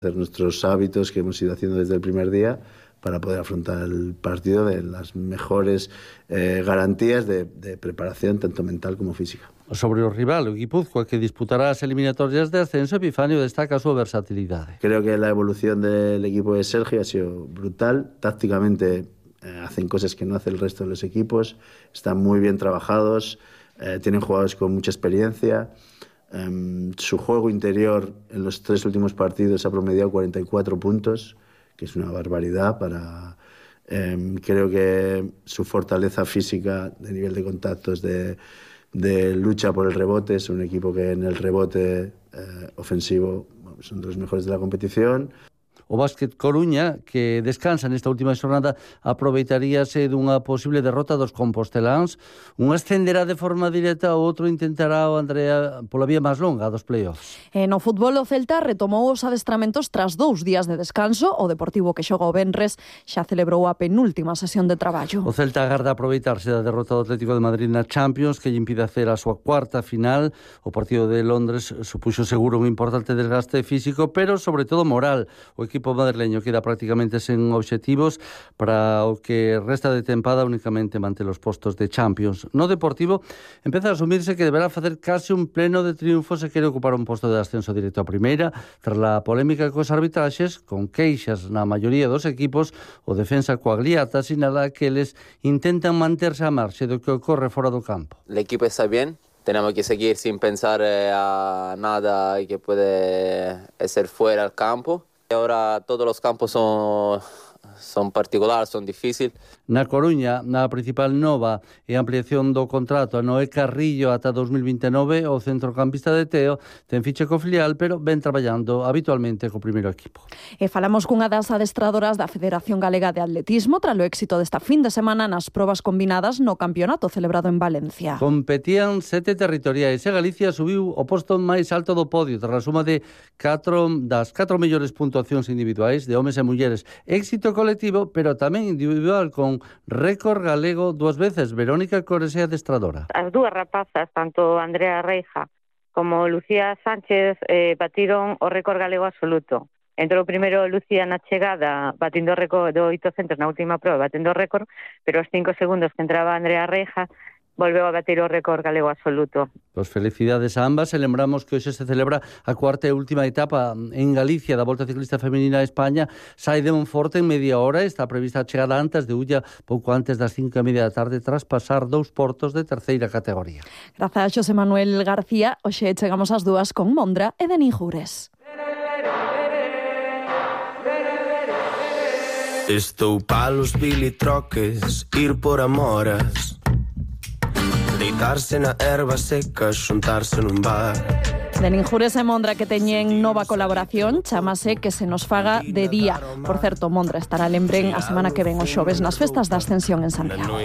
hacer nuestros hábitos que hemos ido haciendo desde el primer día para poder afrontar el partido de las mejores garantías de preparación, tanto mental como física. Sobre o rival, o Guipúzcoa, que disputará as eliminatorias de ascenso, Epifanio destaca a súa versatilidade. Creo que la evolución del equipo de Sergio ha sido brutal. Tácticamente hacen cosas que no hace el resto de los equipos, están muy bien trabajados, tienen jugadores con mucha experiencia. Su juego interior en los 3 últimos partidos ha promediado 44 puntos, que es una barbaridad. Creo que su fortaleza física de nivel de contactos, de lucha por el rebote, es un equipo que en el rebote ofensivo son de los mejores de la competición. O Básquet Coruña, que descansa nesta última xornada, aproveitaríase dunha posible derrota dos composteláns. Un ascenderá de forma directa, o outro intentará o Andrea pola vía máis longa dos playoffs. No fútbol, o Celta retomou os adestramentos tras 2 días de descanso. O Deportivo, que xoga o venres, xa celebrou a penúltima sesión de traballo. O Celta agarda aproveitarse da derrota do Atlético de Madrid na Champions, que lle impide hacer a súa cuarta final. O partido de Londres supuxo seguro un importante desgaste físico, pero sobre todo moral. O equipo madrileño queda prácticamente sen obxectivos para o que resta de tempada, únicamente mante os postos de Champions. No Deportivo empeza a asumirse que deberá facer case un pleno de triunfo se quere ocupar un posto de ascenso directo a primeira. Tras a polémica cos arbitraxes, con queixas na maioría dos equipos, o defensa Coagliata sinala que eles intentan manterse a marxe do que ocorre fora do campo. El equipo está bien. Tenemos que seguir sin pensar a nada que puede ser fuera del campo. Ahora todos los campos son particulares, son difíciles. Na Coruña, na principal nova e ampliación do contrato a Noé Carrillo ata 2029, o centrocampista de Teo ten ficha co filial, pero ven traballando habitualmente co primeiro equipo. E falamos cunha das adestradoras da Federación Galega de Atletismo tras o éxito desta fin de semana nas probas combinadas no campeonato celebrado en Valencia. Competían 7 territoriais e Galicia subiu o posto máis alto do podio tras a suma de 4 mellores puntuacións individuais de homes e mulleres. Éxito colectivo, pero tamén individual, con récord galego 2 veces. Verónica Cores é adestradora. As dúas rapazas, tanto Andrea Reija como Lucía Sánchez, batiron o récord galego absoluto. Entrou primeiro Lucía na chegada, batindo o récord do 800 na última proba, batendo o récord, pero os 5 segundos que entraba Andrea Reija volveu a batir o récord galego absoluto. Pois felicidades a ambas, e lembramos que hoxe se celebra a cuarta e última etapa en Galicia da Volta Ciclista Feminina a España. Sai de Monforte en media hora, está prevista a chegada antes de Ulla pouco antes das 5:30 da tarde, tras pasar 2 portos de terceira categoría. Grazas a Xosé Manuel García. Hoxe chegamos ás 2 con Mondra e Denis Jures. Estou palos bilitroques, ir por amoras, deitarse na erva seca, xuntarse nun bar. Denis Jures e Mondra, que teñen nova colaboración, chamase Que se nos faga de día. Por certo, Mondra estará lembren a semana que ven o xoves nas festas da Ascensión en Santiago.